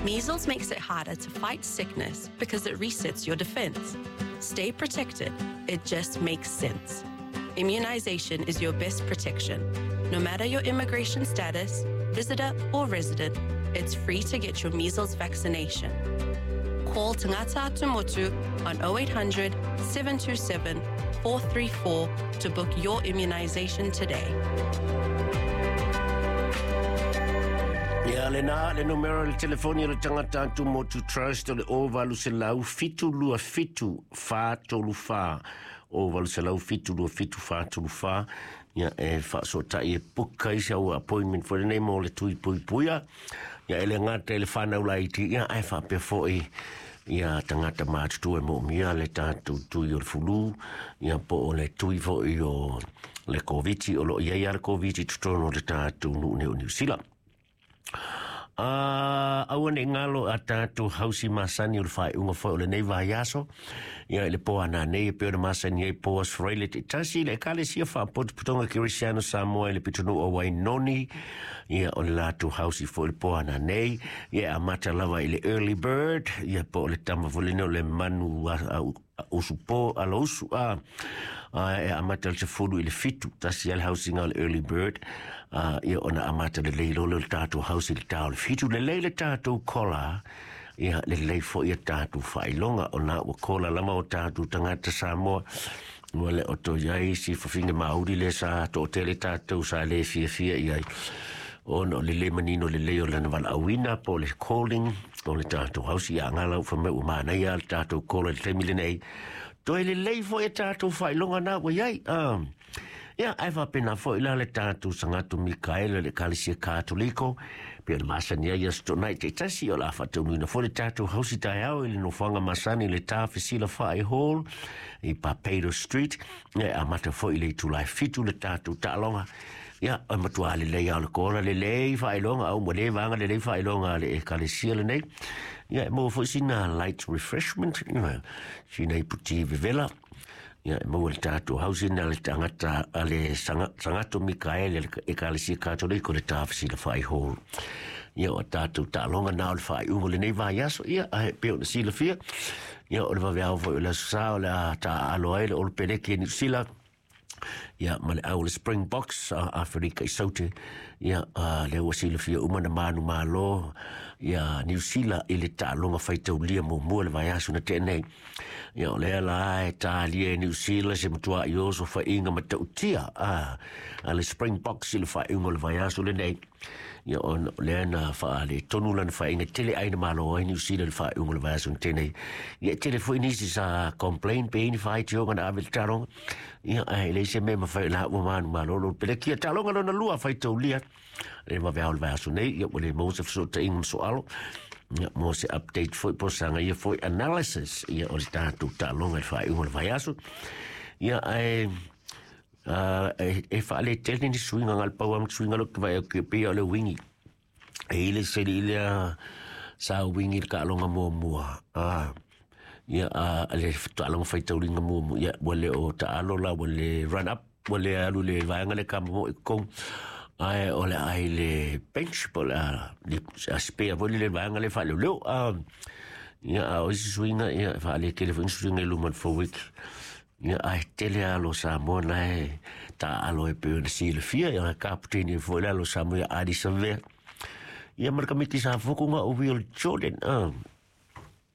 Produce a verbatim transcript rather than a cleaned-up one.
Measles makes it harder to fight sickness because it resets your defense. Stay protected. It just makes sense. Immunization is your best protection. No matter your immigration status, visitor or resident, it's free to get your measles vaccination. Call Tangata Atumotu on oh eight hundred, seven two seven, four three four to book your immunization today. Ia le na le numero le telefoni le Tangata Atumotu Trust o le o valu selau fitu lua fitu fa tolu fa. O valu selau fitu lua fitu fa tolu fa. Ia e whaasotai e puka i sau appointment for nei mo le tui pui puia. Ia ele ngata ele whanau laiti. Ia ai whapea foi. Ia tangata mātutu e mo mia le tātou tui o le fulu. Ia po o le tui foi o le Koviti. O lo ia ia le Koviti tutono le tātou nu neo Niu Sila. Uh, aua ne ngalo a tātou hausi masani o le whaeunga whae o le nei vaiaso. Ia le poa nā nei e peo na masani e poa sfraile te tasi le ekalesia whaapotopotonga Kirisiano Samoa i le pitunu o Wainoni. Ia o le lātou hausi whae o le poa nā nei. Ia a mata lava i le early bird. Ia po o le tama volene o le manu a, a, usu po ala usu a e amata le sefulu i le fitu tasi ale hausinga o le early bird a ia ona amata le lei lolo le tātou hausi le tā o le fitu le lei le tātou kola ia le lei fo ia tātou whailonga o nā ua kola lama o tātou tangata Samoa ua le o to iai si whawhinga mauri le sa to tele tātou sa le fia fia iai ona o le le manino le lei o lana wala awina po le calling o le tātou hausi a ngala u whameu u mānai a le tātou kola le temi le nei. Toi le lei fo e tātou whailonga nā wa iai. Um, ia, ai whapena fo i la le tātou sangatu Mikaela le Kalesia Katoliko. Pea le masani ai aso nai te tasi o la whataunuina fo le tātou hausi tai au i le nofoanga masani le tāwhisila whae hall i Papedo Street. Ia, a mata fo i le itulai fitu le tātou ta'alonga. Ia, o matua le lei au le kora le lei whailonga au mo le vanga le lei whailonga le ekalesia le nei. Ia, mo fo sina light refreshment, ia, sina i puti vevela. Ia, mo le tātou hausi na le tangata a le sangato Mikaele le ekalesia Katoliko le tāwhisila whai hall. Ia, o tātou ta'alonga nā o le whai ungo le nei vaiaso, ia, a he peo na sila fia. Ia, o le waweau foi o le aso o le tā aloa e le olo peleke ni sila. Ia ma le au le Springboks a Afrika i saute. Ia a le ua silafia uma na manu malo. Ia Niu Sila i le ta'alonga faitaulia muamua le vaiaso na tea nei. Ia o lea la e tālia e Niu Sila se matua i oso whainga matautia a, a le Springboks i le whainga o le vaiaso lenei. Ia o lea na wha le tonu lana whainga tele aina malo ai Niu Sila le whainga o le vaiaso na tenei. Ia tele foi nisi sa complain pe ini whaitioga na ave le taronga. Ia ai le se me mawhai la ua manu malo lo pele kia talonga lona lua whaitaulia. Le mawhea o le vaiaso nei, ia o le mose whasota inga msoalo. Ia mo se update foi po sanga ia foi analysis ia o le tātou talonga le whainga o le vaiaso. Ia ai Uh, e, e whaale tele ni suinga ngal pau am suinga lo vai o ke pia o le wingi. E ile se ile sa wingi ka alonga mua mua. Ah ia a le alonga faitaulinga mua mua. Ia wale o ta alo la wale run up wale alu le vaenga le kama mo i kong. Ai o le ai le bench po la le a spare wale le vaenga le whaale leo. Ah ia o isi suinga ia whaale tele fo suinga luman for week. Ia ai tele alo Samoa nae ta alo e peo na silafia ia kaputeni foi le alo Samoa ia Adi Savea. Ia marka miti sa fuku nga o Will Jordan. Ah,